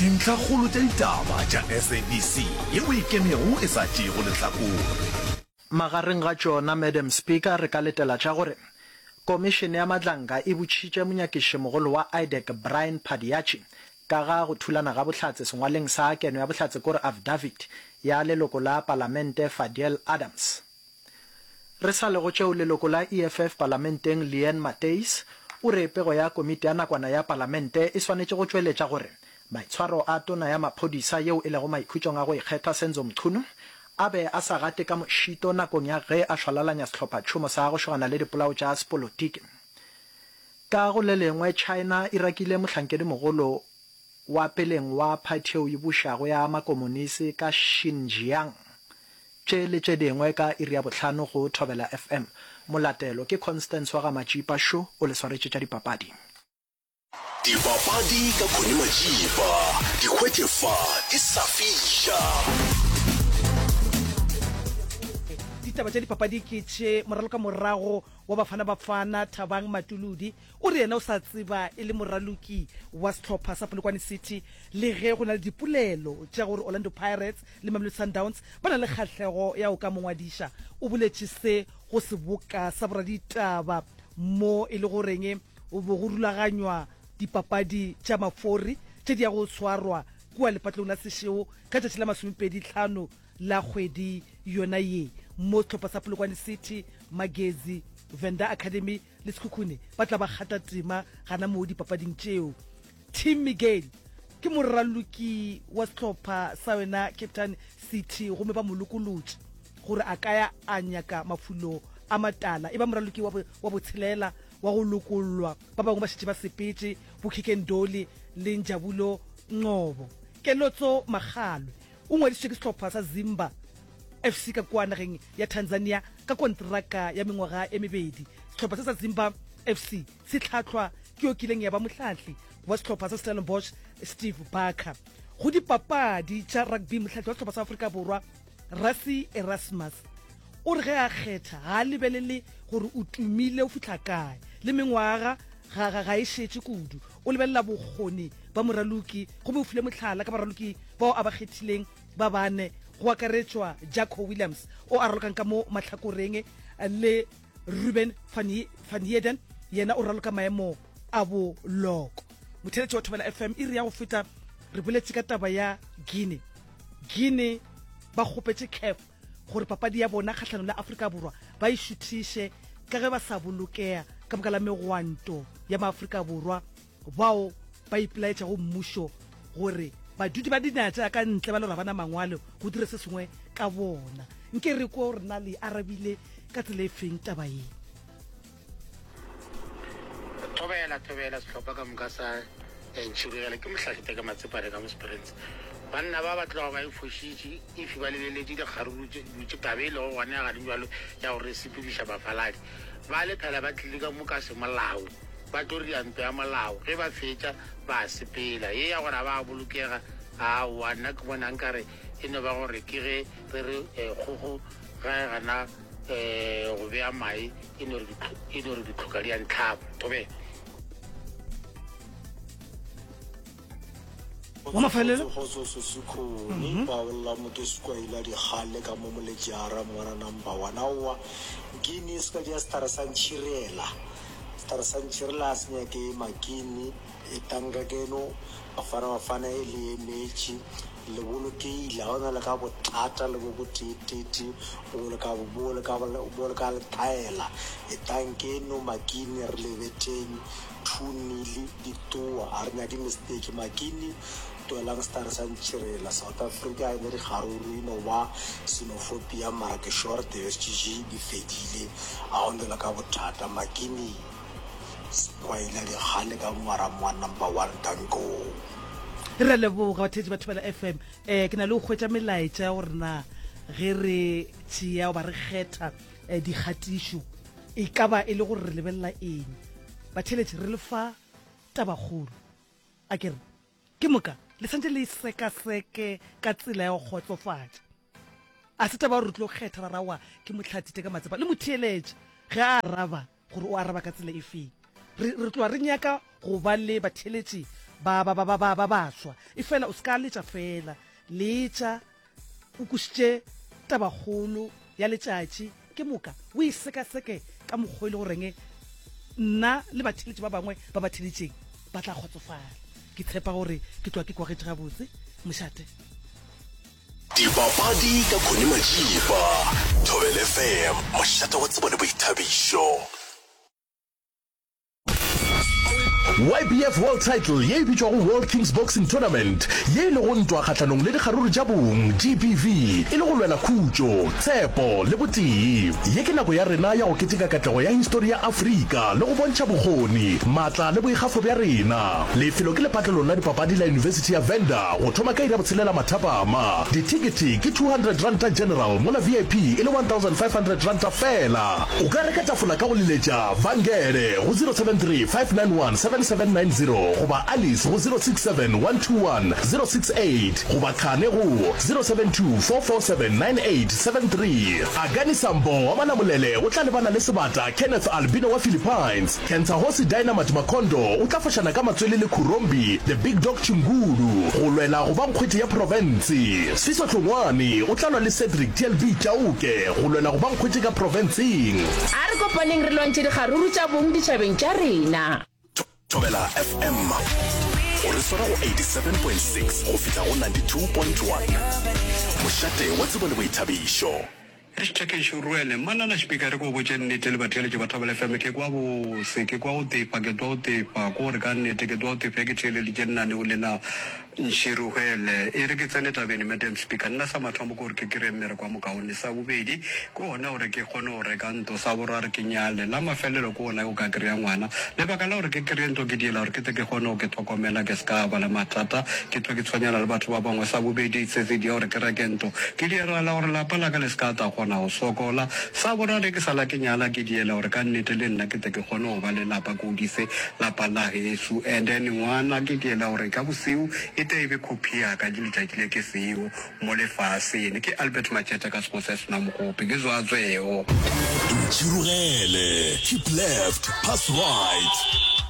Dintlhakgolo tša ditaba tša SABC yeo e ikemego e sa tšeego lehlakore. Magareng ga tšona, Madam Speaker, re ka letela tša gore Komišene ya Madlanga e botšhitše monyakišimogolo wa IDAC Brian Padiachy ka ga go thulana ga bohlatse sengwaleng sa keno ya bohlatse kore affidavit ya leloko la palamente Fadiel Adams. Re sa le go tšeo, leloko la EFF palamenteng Leanne Matthys o re pego ya komiti ya nakwana ya palamente e swanetše go tšweletša gore maitshwaro a tona ya maphodisa yeo e lego maikhutšong a go ikgetha Senzo Mchunu a be a sa gate ka mošito nakong ya ge a šwalalanya sehlophatšhomo sa go šogana le dipolao tša sepolotiki. Ka go le lengwe, China e rakile mohlankedimogolo wa peleng wa phathi yeo e bušago ya makomonisi ka Xinjiang. Tše le tše dingwe ka iri ya bohlano go Thobela FM. Molatelo ke Constance wa ga Matšipa šo o le swaretše tša dipapadi. Dipapadi ka Connie Matšipa, di hwetše fa di sa fiša. Ditaba tša dipapadi ke tše, Moralokamorago wa Bafana Bafana Thabang Matuludi o re yena o sa tseba e le moraloki wa sehlopha sa Polokwane City le ge go na le dipolelo tša gore Orlando Pirates le Mamelodi Sundowns ba na le kgahlego ya go ka mo ngwadiša. O boletše se go seboka sa boraditaba mo e le goreng Go be go rulaganywa dipapadi tša mafori tše di yago go swarwa kua lepatlelong la Seshego ka tšatši la masomepedi-hlano la kgwedi yona ye, mo sehlopha sa Polokwane City, Magezi, Venda Academy le Sekhukhune ba tla ba kgata tema gana moo dipapading tšeo. Tim Miguel ke moraloki wa sehlopha sa yona Cape Town City gomme ba mo lokolotše gore a ka ya a nyaka mafulo a matala. E ba moraloki wa botshelela wa go lokollwa. Ba bangwe ba šetše ba sepetše, bo Kikeng Dolly le Njabulo Ngcobo. Kelotso Makgalwe o ngwadišitšwe ke sehlopha sa Zimba FC ka kua nageng ya Tanzania ka konteraka ya mengwaga e mebedi. Sehlopha se sa Zimba FC se hlahlwa ke yo kileng ya ba mohlahli wa sehlopha sa Stellenbosch Steve Barker. Go dipapadi tša rugby, mohlahli wa sehlopha sa Afrika Borwa Rassie Erasmus O re ge a kgetha ga a lebelele gore o tumile o fihla kae, le mengwaga ga, ga, ga e šetše kudu. O lebelela bokgoni ba moraloki gomme o file mohlala ka baraloki bao a ba kgethileng ba bane, go akaretšwa Jaco Williams o a ralokang ka mo mahlakoreng le Ruben van, van Heerden yena o raloka maemo a boloko. Motheeletši wa Thobela FM, iri ya go feta re boletše ka taba ya Guinea. Guinea ba kgopetše CAF gore papadi ya bona kgahlanong le Afrika Borwa ba e šuthiše ka ge ba sa bolokea ka baka la megwanto ya maAfrika Borwa bao ba ipelaetšago mmušo gore badudi ba dinaga tša ka ntle ba le gore ga ba na mangwalo go dire se sengwe ka bona. Nke re kwe gore na le arabile ka tsela e feng taba ye. Thobela, thobela sehlopha ka moka sa Ntšhirogela. Ke Mohlahli Teka Matsepane ka mo Springs. Banna ba ba tloga ba e fošitše if ba lebeletše dikgaruru tše dutše taba e lego gona ya gane bjalo ya gore e sepediša bafaladi. Ba le phela ba tlile ka mo ka semolao ba tlo ria ntwa ya molao ge ba fetša ba sepela. Ye ya gore ga ba bolokega aowa nna ke bona nkare e no ba gore ke ge re re kgogo ga e gana go bea mae e no re e no re ditlhoka di a ntlhaba. Thobela. Wa mafelelo. Kgotso Sesikhoni, ba bolela mo ke sekwaila dikgale ka mo Moletjara ngwana number one. Aowa, Guinea se ka ja sehlare sa ntšhirela. Sehlare sa ntšhirela a se nyake makini. Etang ka keno, Bafana Bafana e le emetše. Le bolokehile, ga go na le ka bothata le bo boteetete bo le ka bo le ka bo le ka le thaela. Etang keno makini re le betheng 2-nil ditoa, ga re nyake mistake. Makini twelang stare sa ntšhirela. South Africa e ne dikgaruru e no ba xenophobia mara ke sure di-SGG di fedile, ga go na le ka bothata. Makini. Sekwaila dikgale ka ngwara mwa number one danko. Re a leboga batheetši ba Thobela FM. Eh ke na le go hwetša melaetša ya gore na ge re tšea goba re kgetha eh, dikgatišo e ka ba e le gore re lebelela eng. Batheeletši re le fa tabakgolo. A ke re ke moka le santše le e sekaseke ka tsela ya go kgotsofatša. A se taba gore re tlo kgetha ra rawa ke Mohlathi Teka Matsepa le motheeletše ge a araba gore o araba ka tsela e feng. Re, re tloga re nyaka go ba le batheeletši ba ba ba ba ba ba baswa. Efela o se ka letša fela, letša o kwešiše tabakgolo ya letšatši ke moka o e sekaseke ka mokgwa e le goreng nna le batheeletši ba bangwe ba ba theeletšeng ba tla kgotsofala. Ke tshepa gore ke tloga ke kwagetše gabotse. Mošate. Dipapadi ka Connie Majiba, Thobela FM, mošate wa tsebo le boithabišo. YBF World Title ye e bitšwago World Kings Boxing Tournament, ye e lego ntwa kgahlanong le dikgaruru tša bong, GBV, e le go lwela khutšo, tshepo le botee. Ye ke nako ya rena ya go keteka katlego ya histori ya Afrika le go bontšha bokgoni, maatla le boikgafo bja rena. Lefelo ke lepatlelong la dipapadi la Yunibesithi ya Venda go thoma ka iri ya botshelela mathapama. Dithekethe ke R200 General mola VIP e le R1500 feela. O ka reka tafola ka go leletša Vangele go 073 591 7790 goba Alice go 067 121 068 goba Khane go 072 447 9873. Akani Sambo wa Malamulele o tla lebana le sebata Kenneth Albino wa Philippines. Cancer-Hosi Dynamite Makondo o tla fošana ka matswele le Khurombi The Big Dog Chingulu go lwela go ba nkgwete ya profense. Siso Hlongwane o tla lwa le Cedric TLB Chauke go lwela go ba nkgwete ka profenseng. A re kopaneng re lwantšhe dikgaruru tša bong ditšhabeng tša rena. Thobela FM o re swara go 87.6 go fihla go 92.1. Mošate wa tsebo le boithabišo. Hashtag Ruele, Mmanana Speaker re ko botše nnete le batheeletši ba Thobela FM ke kwa bose, ke kwa go tefa, ke twa go tefa, ko gore ka nnete ke twa go tefa ke theeleditše lenaneo le la Nširuhele. E re ke tsene tabeng Madam Speaker, nna sa mathomo ke gore ke kry-e mmereko wa mokaone, sa bobedi ke gona gore ke kgone go reka ntlo, sa boraro ke nyale, la mafelelo ke gona go ka kry-a ngwana. Lebaka la gore ke kry-e ntlo ke diela gore ke tle ke kgone go ke tlhokomela ke se ka ba le mathata, ke hlwe ke tshwenyana le batho ba bangwe. Sa bobedi se se dia gore ke reke ntlo, ke diela la gore lapa la ka le se ka tla kgona go sokola. Sa boraro ke sa la ke nyala, ke diela gore ka nnete le nna ke tle ke kgone go ba le lapa, ke godise lapa la geso. And then ngwana ke diela gore ka boseo e tle e be copy ya ka letšatši le ke seo mo lefaseng. Ke Albert Matšetša ka Sekgosi sa Senamogope, ke Zwatsweo. Ntšhirogele, keep left, pass right.